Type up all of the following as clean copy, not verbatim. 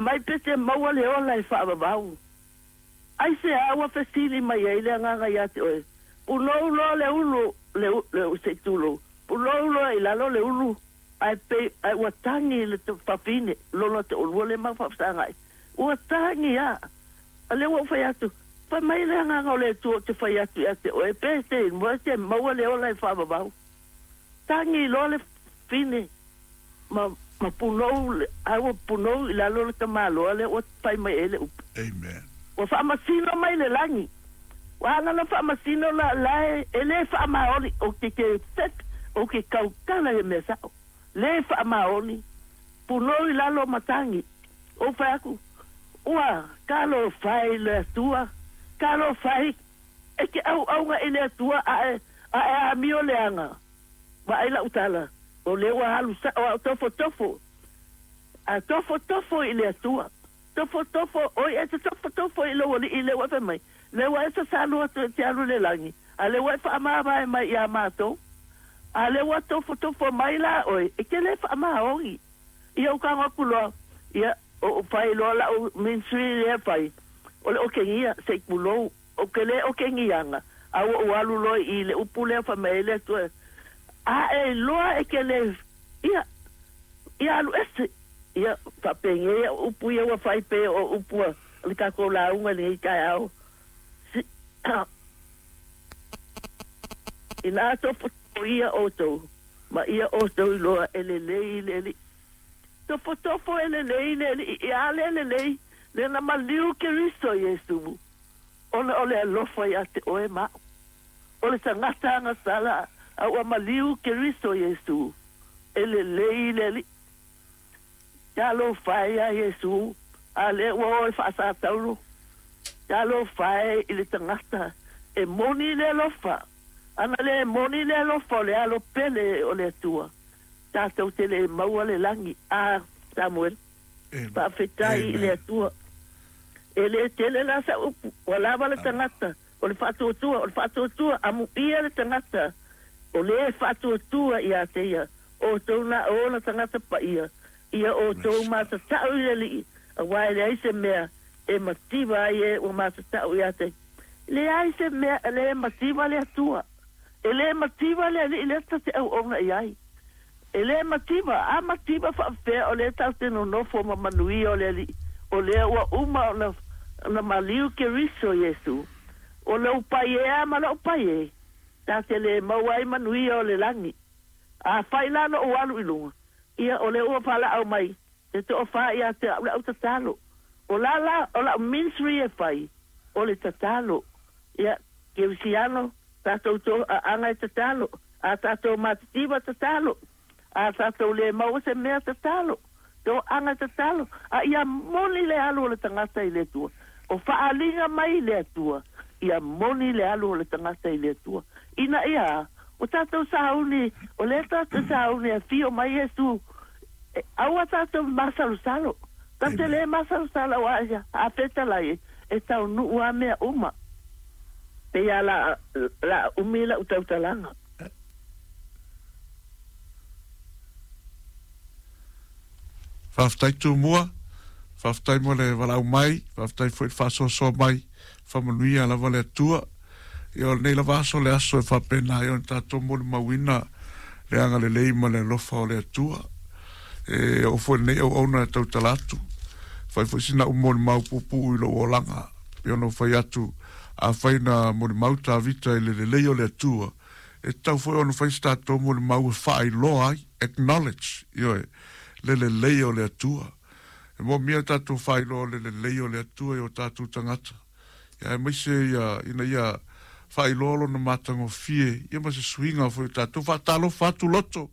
Mai pe te maua le ola e faavavau. Aisea ua fesili mai ai le Agaga ia te oe, Punou loa le ulu, le, le, se i tulou, punou loa i lalo le ulu, ae pei, ae ua tagi le fafine, lona toalua lea mau faafesagai. Ua tagi lava. A lea ua ou fai atu, Fai mai le Agaga o le Atua ou te fai atu ia te oe, pe te te maua le ola e faavavau. Tagi loa le fafine ma, ma punou, ae ua punou i lalo le tamaloa lea ua fai mai ai le upu. Amen. Ua faamasino mai le lagi. Ua ana na faamasino la, la e, e le faamaoni, ou te ke fet, ou ke tautala i le mea sao. Le faamaoni, punou i lalo ma tagi. Ou fai atu, Ua, talofa e i le Atua, talofa e, e te auauna i le Atua a e, a e amio leaga. Vaai lau tala, o lea ua alu sao au tofotofo, a tofotofo i le Atua. Tofotofo, oi e te tofotofo i lou Alii lea ua e fai mai, lea ua e sasalu atu e te alu i le lagi, a lea ua e faamavae mai iā matou. A lea ua tofotofo mai la oe, e te le faamaoni. Ia ou tago atu loa, ia, ou fai loa lau ministry lea e fai, o le otegia, se i tulou, ou te le otegiaga, a ua ou alu loa i le upu lea fai mai ai le Atua, A e iloa e te le, ia, ia alu ese. Ia, faapenei au upu ia ua fai pei o upu a le tatou lauga i lenei taeao. Si, inā tofotofo ia outou, ma ia outou iloa e lelei le Alii. Tofotofo e lelei le Alii, ia le lelei, lea na maliu Keriso Iesu, ona o le alofa iā te oe ma aʻu. O le tagata agasala a ua maliu Keriso Iesu, e lelei le Alii. Talofa e iā Iesu, a lea ua o e faasatauro. Talofa e i le tagata e moni le alofa. Ana le moni le alofa o le alo pele o le Atua, tatou te le maua le lagi. A, Samuel, faafetai i le Atua. E le tele la sau upu, ua lava le tagata o le faatuatua, o le faatuatua, amuia le tagata o le faatuatua ia te ia, outou na o ona tagata paia, ia outou matatau i le Alii, aua e leai se mea e mativa ai e ua matatau ia te. Leai se mea e le mativa le Atua. E le mativa le Alii lea ta te auauna i ai. E le mativa, a mativa faapefea o lea tatou te nonofo ma manuia o le Alii, o lea ua uma ona ona maliu Keriso Iesu. O lou pai e a ma lou pai e, ta te le maua ai manuia o le lagi. Afai la lou alu i luga, ia o lea ua valaau mai te toafa ia te au le au tatalo. O la la, o lau ministry e fai, o le tatalo. Ia, kerisiano, tatou to aaga e tatalo. A tatou matitiva tatalo. A tatou le maua se mea tatalo. Toaga e tatalo. A ia moni le alu o le tagata i le Atua. O faaaliga mai i le Atua, ia moni le alu o le tagata i le Atua. Ina ia, o tatou sauni, o lea tatou sauni e afio mai Iesu, aua tatou masalosalo. Tatou te le masalosalo aua a fetalai e taunuu lava mea uma. Pei lava la, la umi lau tautalaga. Faafetai Tumua, faafetai mo le valaau mai, faafetai foi le faasoasoa mai, faamanuia lava le Atua. Ia o lenei lava aso le aso e faapena ai ona tatou molimauina le agalelei ma le alofa o le Atua. E oo foi lenei auauna e tautala atu, fai foi sina au molimau puupuu i lou olaga, pei ona ou fai atu, afai na molimau Tavita i le lelei o le Atua, e tatau foi ona fai se tatou molimau e faailoa ai, acknowledge, ioe, le lelei o le Atua. E moomia tatou faailoa o le lelei o le Atua i o tatou tagata, ia aemaise ia, ina ia faailoa lona matagofie, ia ma se suiga foi o tatou. Faatalofa atu loto,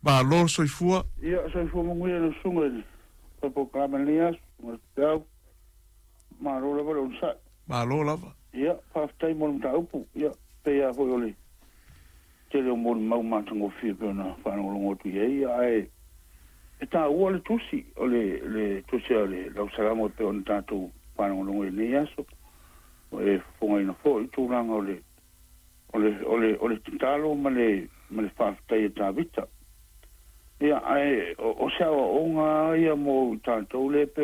malo le soifua. Ia, soifua manuia lau susuga i le fai polokalame i lenei aso, susuga i le Feau. Malo lava le onosai. Malo lava. Ia, faafetai mo le mataupu. Ia, pei lava foi o le tele o molimau matagofie pei ona faalogologo atu i ai, ae e taua le tusi, o le, le tusi a le Lausalamo e pei ona tatou faalogologo i lenei aso. E fofogaina foi le tulaga o le, o le, o le, o le tatalo ma le, ma le faafetai a Tavita. Ia, ae o, o se aoaoga ia mo i tatou lea pei